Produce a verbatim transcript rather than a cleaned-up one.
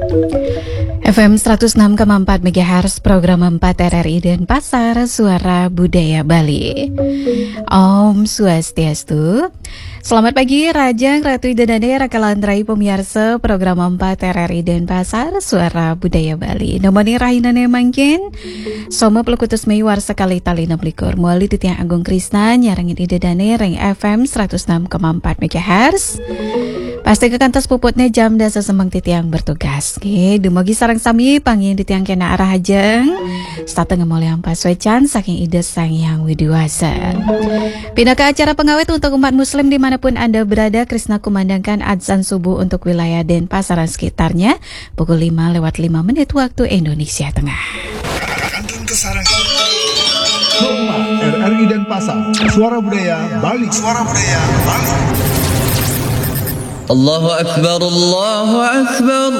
F M seratus enam koma empat megahertz, program empat R R I Denpasar, Suara Budaya Bali. Om Swastiastu. Selamat pagi, Rajang, Ratu Ida Dane, Raka Landrai, pemirsa program empat R R I Denpasar, Suara Budaya Bali. Nomoni rahinane mangkin, Soma puluh kutus Mei warsa kali tali enam likur. Muali titiang Agung Krisna, nyarengin Ida Dane, ring F M seratus enam koma empat megahertz. Pasti kekantos puputnya jam dasa semeng titiang bertugas. Oke, dumogi sareng sami pangin titiang kena arah ajeng. Setata ngemoliang pasuecan saking Ida Sang Hyang Widi Wasa. Pinaka acara pengawet untuk umat muslim dimanapun Anda berada, Krisna kumandangkan adzan subuh untuk wilayah Denpasar dan sekitarnya pukul lima lewat lima menit waktu Indonesia Tengah. Kantun kesarangan. Hormat R R I Denpasar, Suara Budaya Bali. Suara Budaya Bali. Allahu Akbar, Allahu Akbar.